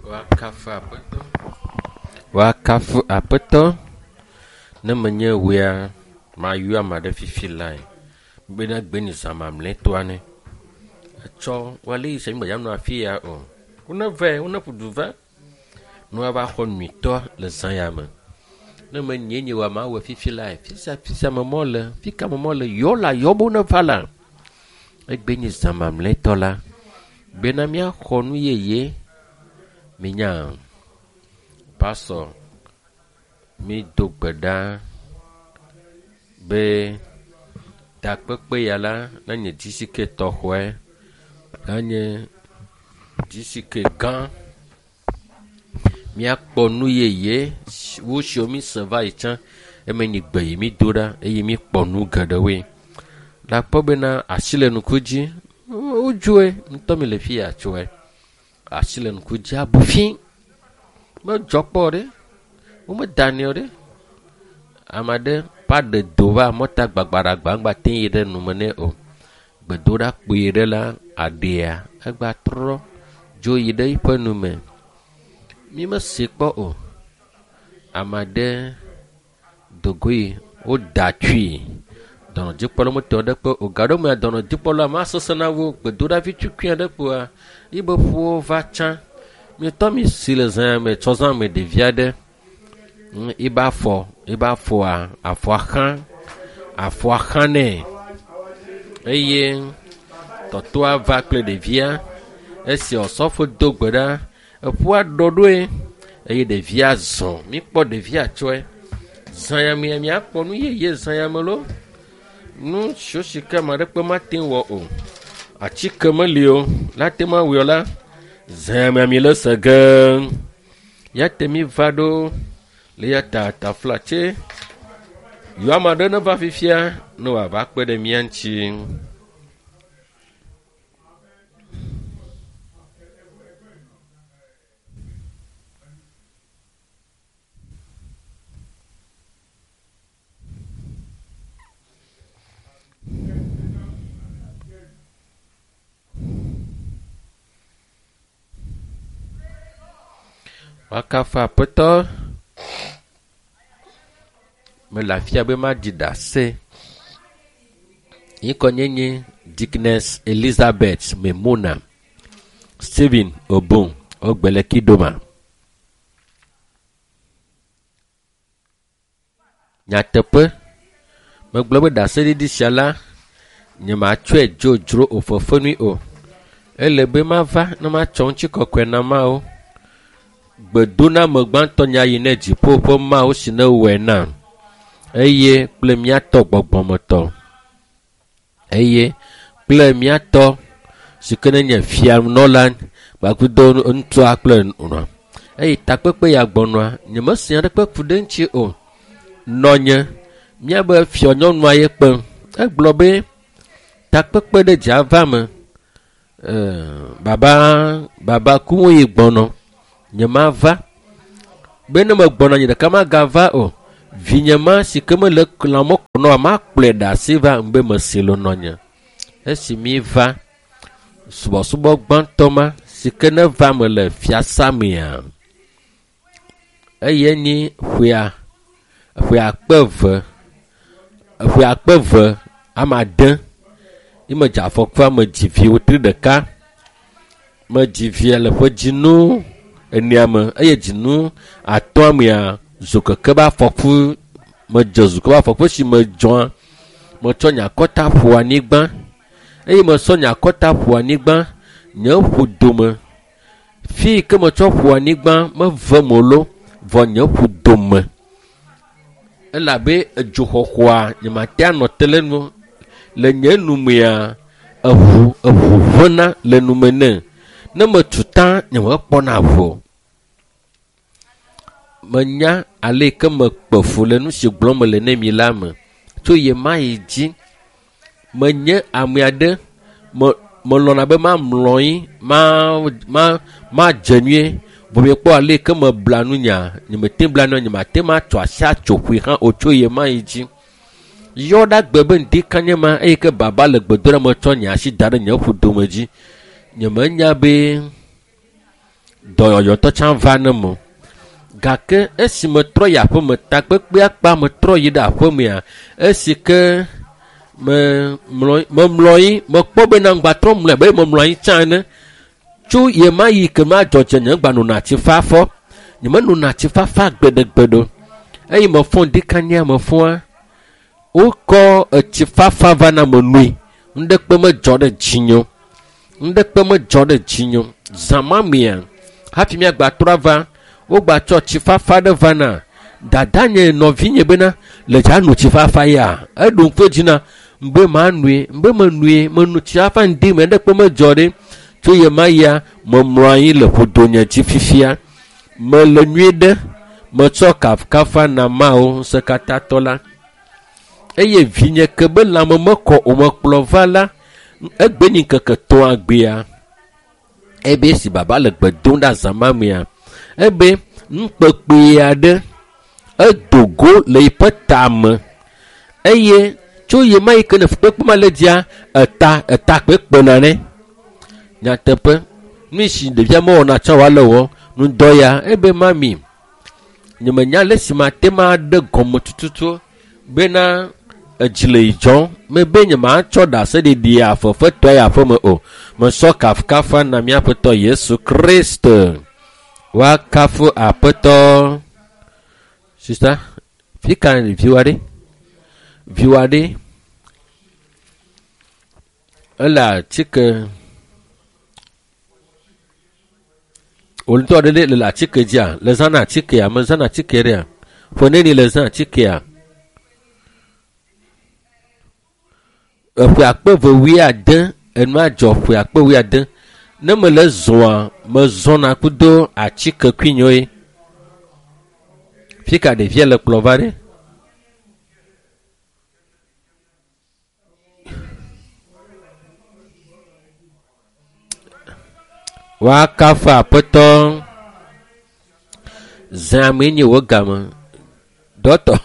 Woakafu Aƒetɔ. Woakafu Aƒetɔ. Ne menye wòea, mayɔ ame aɖe fifi lae bena gbe zã mamlɛtɔa ne. Etsɔ woale yi se mi gbeya nɔ afi ya o. Wone vɛ, wone ƒu du va. Ne woava xɔ nyuitɔ le zã ya me. Ne menye nye wa mawɔe fifi lae. Fisia fisia me mɔ le, fi ka me mɔ le, yɔ la yɔ be wone va la. Egbe nye zã mamlɛtɔ la bena míaxɔ nu yeye. Minya pastor mi do gbe ɖa be takpekpe ya la nenye GCK tɔxɔe, nanye GCK gã. Míakpɔ nu yeye wu siwo mi se va yi tsã eme nyi gbe yi mi do ɖa eye mi kpɔ nu geɖewoe. Le akpɔ bena asi le ŋku dzi wodzoe ŋutɔ mi le fi ya tsoe. Asi le ŋku dzi abu fi. Medzɔ kpɔ ɖe. Womedanɛ o ɖe. Ame aɖe va ɖe do va mɔta gbagbaɖagba ŋgba te yi ɖe nume nɛ o. Gbedoɖa kpui ɖe la aɖea egba trɔ dzo yi ɖe eƒe nume. Mi mese kpɔ o. Ame aɖe dogoe woda tui. Dɔnɔdzikpɔla metɔ ɖe kpe o. Gaɖo mea dɔnɔdzikpɔla ma sesẽ na wo gbedoɖa vi tukui aɖe kpoa yibe ƒuwo va tsã. Mietɔ mi si le zã me tsɔ zã me ɖevi aɖe yibe afɔ yibe afɔa afɔa xã afɔa xã nɛ eye tɔtɔa va kple ɖevia esi osɔfo do gbe ɖa eƒua ɖɔ ɖoe eye ɖevia zɔ mikpɔ ɖevia tsɔe zã ya mea miakpɔ nu yeye zã ya me lo nu siwo si ke ame aɖeke mate ŋu wɔ o atike meli o la te ma wɔe la zã ya mea mi le se ge ya te mi va ɖo le ya ta taflatse yɔ ame aɖe ne va fifia ne wòava kpe ɖe mía ŋuti. Woakafu Aƒetɔ. Mele afia be maɖi ɖase. Ŋkɔ nye nye Dickness Elizabeth Memona Stephen Obon Ogbele Kidoma. Nyateƒe, megblɔ be ɖaseɖiɖi sia la, nyematsɔe dzodzro o fefenui o. Ele be mava ne matsɔ ŋutikɔkɔe na Mawu. Gbedoname gbãtɔ nya yi ne dziƒo ƒe Mawu si ne wɔe nam eye kple míatɔ gbɔgbɔmetɔ eye kple míatɔ si ke ne nye fianɔla kpakple ŋutsua kple nɔa. Eye takpekpe ya gbɔnɔa, nyemese aɖeke ku ɖe eŋuti o. Nɔnye, míabe fianyɔnua ye kpem. Egblɔ be takpekpe ɖe dze ava me. Baba baba kuŋ yi gbɔnɔ. Nyemava. Be ne megbɔna nye ɖeka magava o. Vinye ma si ke mele lãme kɔnɔ makplɔe ɖe asi va ŋbe mesi le nɔnye. Esi mi va subɔsubɔ gbãtɔ ma si ke ne va me le fiasa mea, eye nyi ƒea ƒe akpe eve ƒe akpe eve ame ade ye medze afɔkua medzi vi wotri ɖeka. Medzi via le ƒe dzinu enea me eye dzinu atɔ̃a mea zokeke be afɔku medze zokeke be afɔku esi medzɔa metsɔ nye akɔta ƒo anyigba eye mesɔ nye akɔta ƒo anyigba nye ƒu dome fi yi ke metsɔ ƒo anyigba meve mo lo vɔ nye ƒu dome elabe edzoxɔxɔa nyemate anɔ te le nu le nye numea eʋu eʋu ʋena le nume ne ne metu ta nyemekpɔna ʋu o. Menya ale yi ke mekpe fu le nu si gblɔm mele ne mi la me tso ye ma yi dzi menye ame aɖe me melɔ̃na be mamlɔ anyi ma ma madze nyuie vɔ miekpɔ ale yi ke mebla nu nya nyemete bla nua nyemate ma atso asi atso ƒui hã o tso ye ma yi dzi. Yɔ ɖa gbe be ŋdi kanye ma eye ke baba le gbedoɖa me tsɔ nye asi da ɖe nye ƒudome dzi. Nyemenya be Dɔyɔyɔtɔ tsã va ne mo. Gake esi metrɔ yi aƒeme, takpekpea kpa metrɔ yi ɖe aƒemea, esi ke memlɔ anyi, mekpɔ bena ŋgbatrɔ mlɔe abe memlɔ anyi tsã ene. Tso ye ma yi ke ma dzɔdze nye ŋgba nona tsi fafɔ. Nyemenona tsi fafa gbeɖegbeɖe o. Eye mefɔ ŋdikanya mefɔa, wokɔ etsi fafa va na menui. Ŋɖekpe medzɔ ɖe dzinye o. Ŋɖekpe medzɔ ɖe dzinye o. Zã ma mea, hafi míagbatrɔ ava, wogbatsɔ tsi fafa ɖe va na dadanye nɔvinye bena le dza no tsi fafa ya. Eɖo ŋku edzi na be manɔe, be menɔe, meno tsi fafa ŋdi me ŋɖekpe medzɔ ɖe. Tso ye ma yia, memlɔ anyi le ƒodonye dzi fifia. Mele nyuie ɖe, metsɔ kafukafa na Mawu ŋusẽkatãtɔ la. Eye vinye ke be lãme mekɔ o mekplɔ va la, egbe nyi ŋkeke tɔ̃a gbea. Ebe esi baba le gbe dom ɖe azã ma mea, ebe nukpekpe aɖe edo go le yiƒe tame eye tso ye ma yi ke ne fukpekpe ma le dzia, eta eta kpekpena nɛ. Nyateƒe, nu si ɖevia mewɔna tsã wòale wɔ ŋdɔ ya ebe mami, nyemenya le si mate ma ɖe gɔme tututu bena edzi le yi dzɔm mebe nyematsɔ ɖaseɖiɖi afefetɔe yi aƒeme o. Mesɔ kafukafa na míaƒetɔ Yesu Kristo. Woakafu aƒetɔ. Sista, fi ka viwò aɖe? Viwò aɖe ele atike wò ŋutɔ ɖe le atike dzia? Le zãna atikea? Mezãna atike ɖea? Ƒe neni le zã atikea? Eƒe akpe eve wuiade enua dzɔ ƒe akpe wuiade. Ne mele zɔa, mezɔna kudo atike kuinyoe. Fi ka ɖevia le kplɔ va ɖe? Woakafu aƒetɔ. Zã mee nye wò game. Dɔtɔ.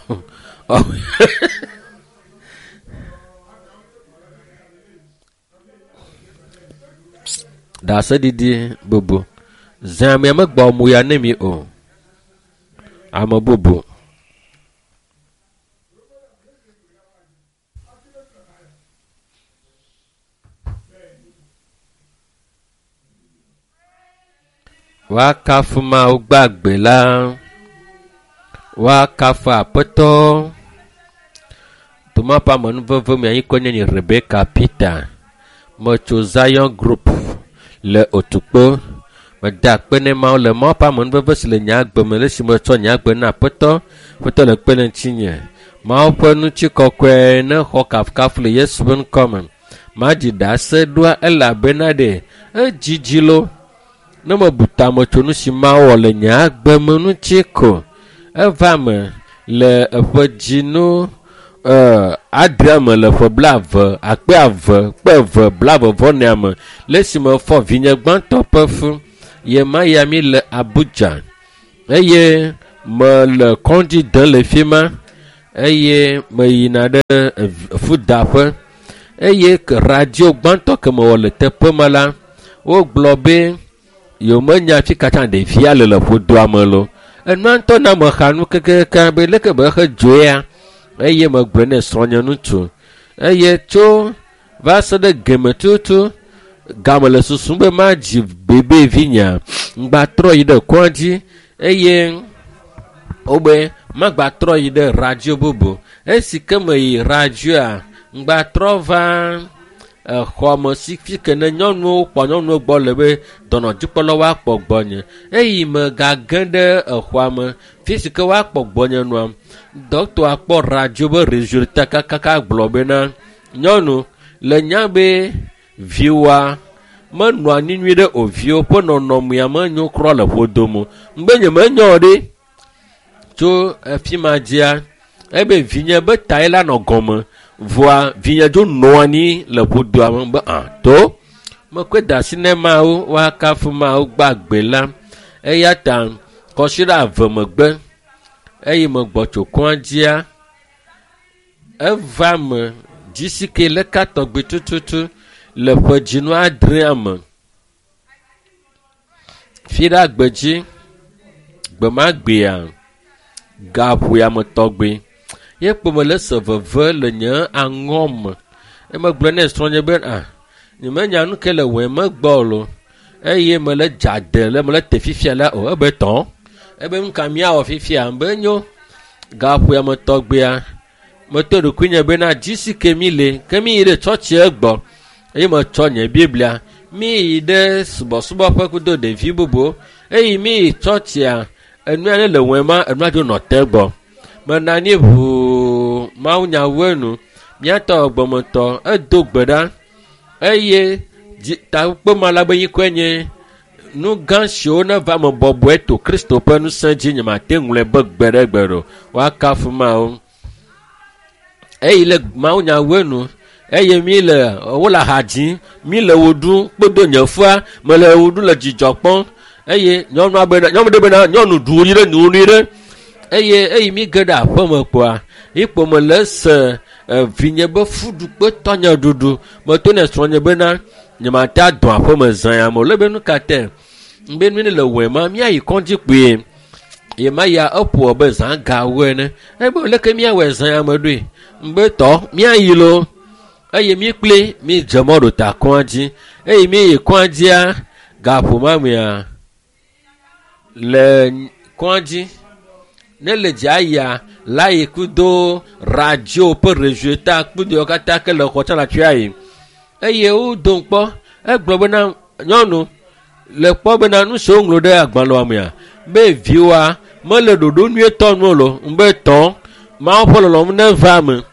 Ɖaseɖiɖi bubu. Zã mea megbɔ mo ya ne mi o. Ame bubu. Woakafu Mawu gbagbe la. Woakafu aƒetɔ. Toma ƒe amenuveve me anyi kɔ nye nye Rebecca Peter. Metso Zion Group le Otukpo. Meda akpe ne Mawu le Mawu ƒe amenuveve si le nye agbe me le esi metsɔ nye agbe na aƒetɔ. Aƒetɔ le kpe ɖe ŋutinye. Mawu ƒe ŋutikɔkɔe ne xɔ kafukafu le Yesu ƒe ŋkɔ me. Madzi ɖase ɖoa elabena ɖe edzidzi lo. Ne mebu tame tso nu si Mawu wɔ le nye agbe me ŋuti ko, eva me le eƒe dzinu adrea me le ƒe blaeve, akpe eve, kpe eve, blaeve vɔ nea me le esime fɔ vinye gbãtɔ ƒe fu. Ye ma ya mi le Abuja eye mele kɔdzi dem le fi ma eye meyina ɖe fudaƒe eye radio gbãtɔ ke mewɔ le teƒe ma la, wogblɔ be yewomenya fi katã ɖevia le le ƒodoa me lo. Enua ŋutɔ na mexa nu kekeake be leke be exe dzoea eye megblɔe ne srɔ̃nye ŋutsu eye tso va se ɖe geme tutu game le susum be madzi bebe vinyea ŋgbatrɔ yi ɖe kɔa dzi eye wobe magbatrɔ yi ɖe radio bubu. Esi ke meyi radioa ŋgbatrɔ va exɔme si fi ke ne nyɔnuwo kpɔ nyɔnuwo gbɔ le be dɔnɔdzikpɔlawo woakpɔ gbɔnye eye megage ɖe exɔa me fi si ke woakpɔ gbɔnye nua dɔkitɔa kpɔ radio be resultat kakaka gblɔ bena nyɔnu le nya be viwoa menɔa anyi nyuie ɖe o viwo ƒe nɔnɔmea menyo kura le ƒodome o. Ŋgbe nye menyo ɖe tso efi ma dzia ebe vinye be tae la nɔ gɔme vɔa vinye dzo nɔ anyi le ƒodoa me be to mekɔe da asi ne Mawu woakafu Mawu gbagbe la eya ta kɔsiɖa eve megbe eye megbɔ tso kɔa dzia eva me dzisi ke leka tɔgbi tututu le ƒe dzinu adrea me. Fiɖa gbedzi, gbemagbea, gaƒoame tɔgbe. Ye kpo mele se veve le nye aŋɔ me. Eme gblɔ nɛ srɔ̃nye be ah, nyemenya nu ke le wɔe megbɔ o lo. Eye mele dzade le mele te fifia la o. Ebe tɔ. Ebe nu ka míawɔ fifia? Be nyo. Gaƒoame tɔgbea, meto ɖokuinye bena dzi si ke mi le, ke mi yi ɖe tsɔtsia gbɔ. Eye metsɔ nye Biblia. Mi yi ɖe subɔsubɔƒe kudo ɖevi bubuwo. Eye mi yi tsɔtsia, enua ne le wɔe ma, enua dzo nɔ te gbɔ. Menɔ anyi ʋuu mawunyawoe nu. Míatɔ gbɔmetɔ edo gbe ɖa eye dzi takpema la be ŋkɔe nye nu gã siwo neva me bɔbɔe to Kristo ƒe ŋusẽ dzi nyemate ŋlɔe be gbe ɖe gbe ɖo. Woakafu Mawu. Eyi le mawunyawoe nu eye mi le wole aha dzim, mi le wo ɖum kpedo nye fua mele wo ɖum le dzidzɔ kpɔm eye nyɔnua bena nyɔnu ɖe bena nyɔnu ɖu wo nyuie ɖe nu nyuie ɖe eye eyi mi ge ɖe aƒeme kpoa ikpo mele se vinye be fuɖukpe tɔnye ɖuɖu meto ne srɔ̃nye bena nyemate adɔ aƒeme zã ya me o. Le be nu ka te be nu ne le wɔe ma míayi kɔdzi kpuie ye ma ya eƒo be zã gawo ene ebe leke míawɔe zã ya me ɖoe be tɔ míayi lo eye mí kpli mí dze mɔ ɖo ta kɔa dzi eye mí yi kɔa dzia gaƒo mea le kɔa dzi ne le dzia yia la yi kudo radio ƒe rezueta kpudo yiwo katã ke le xɔ tsã le afi ayi eye wodom kpɔ egblɔ bena nyɔnu le kpɔ bena nu si woŋlɔ ɖe agbalẽa mea be viwoa mele ɖoɖo nyuietɔ nu o lo be tɔ Mawu ƒe lɔlɔ̃nu neva eme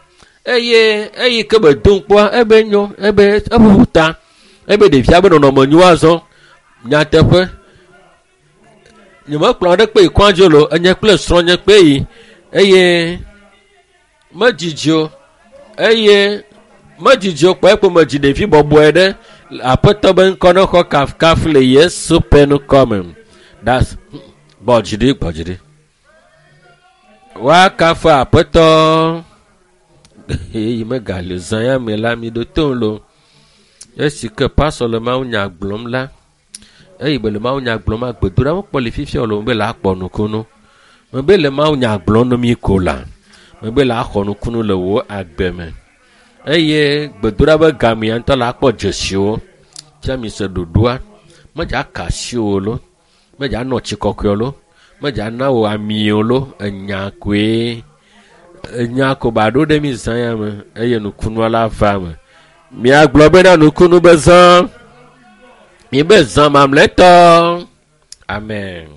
eye eyi ke be dom kpɔa ebe nyo ebe eƒoƒu ta ebe ɖevia be nɔnɔme nyo azɔ nyateƒe nyemekplɔ aɖe kpe yi kɔa dzi o lo enye kple srɔ̃nye kpe yi eye medzidzi o eye medzidzi o kpɔ ekpo medzi ɖevi bɔbɔe ɖe aƒetɔ be ŋkɔ ne xɔ kafukafu le Yesu ƒe ŋkɔ me. Das gbɔ dzi ɖi gbɔ dzi ɖi. Woakafu aƒetɔ eye megali zã ya me la mi ɖo tom lo. Esi ke pastor le mawunya gblɔm la eye be le mawunya gblɔm gbedoɖa mekpɔ le fifia o lo be la akpɔ nukunu. Mebe le mawunya gblɔm na mi ko la mebe la axɔ nukunu le wò agbe me. Eye gbedoɖa be gamea ŋutɔ la akpɔ dzesiwo. Fia mi se ɖoɖoa medza ka asi wò lo, medza nɔ tsi kɔkɔe lo, medza na wò ami o lo, enya koe. Enya ko ba ɖo ɖe mi zã ya me eye nukunua la va me. Miagblɔ bena nukunu be zã. Mi be zã mamlɛtɔ. Amen.